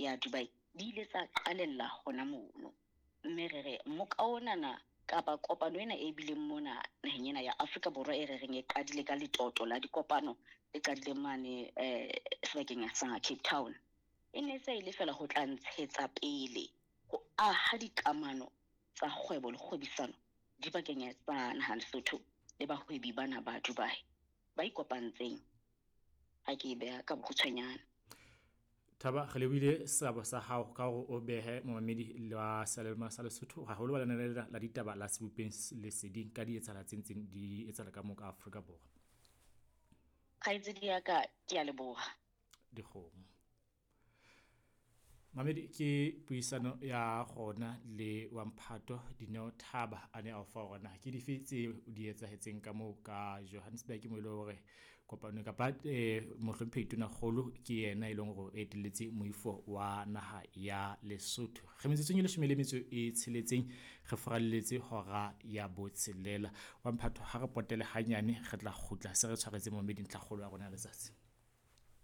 ya Dubai di ile tsa qalella hona mono. Mme re re moka onana kapa kopano ena e bileng mona naheng ena ya Afrika Borwa e re reng e qadile ka letoto la dikopano e qadileng mane sebakeng sa Cape Town, e ne se e le fela ho tla ntshetsa pele ho aha dikamano tsa kgwebo le kgwebisano dipakeng tsa naha Lesotho le bahwebi bana ba Dubai ba ikopantseng. Ha ke e beha ka bokgutshwanyane. Thaba, re lebohile seabo sa hao ka hore o behe momamedi la seyalemoya sa Lesotho, haholo ba lenaneo la ditaba la Sebopeng Leseding ka di etsahala tse ntseng di etsahala ka moo ka Afrika Borwa. Kgaitsedi ya ka, ke a leboha. Dikgomo. Mamedi, ke puisano ya rona le wa mphato Dineo Thaba a ne a o fa hore na ke dife tse di etsahetseng ka moo ka Johannesburg, mo e leng hore kopano kapa mohlomphehi Tonakgolo ke yena e leng hore o etelletse moifo wa naha ya Lesotho. Re metsotsong e leshome le metso e tsheletseng re furalletse hora ya botshelela. Wa mphato, ha re potele hanyane re tla kgutla se re tshwaretse momedi ntlhakgolo ya rona ya letsatsi.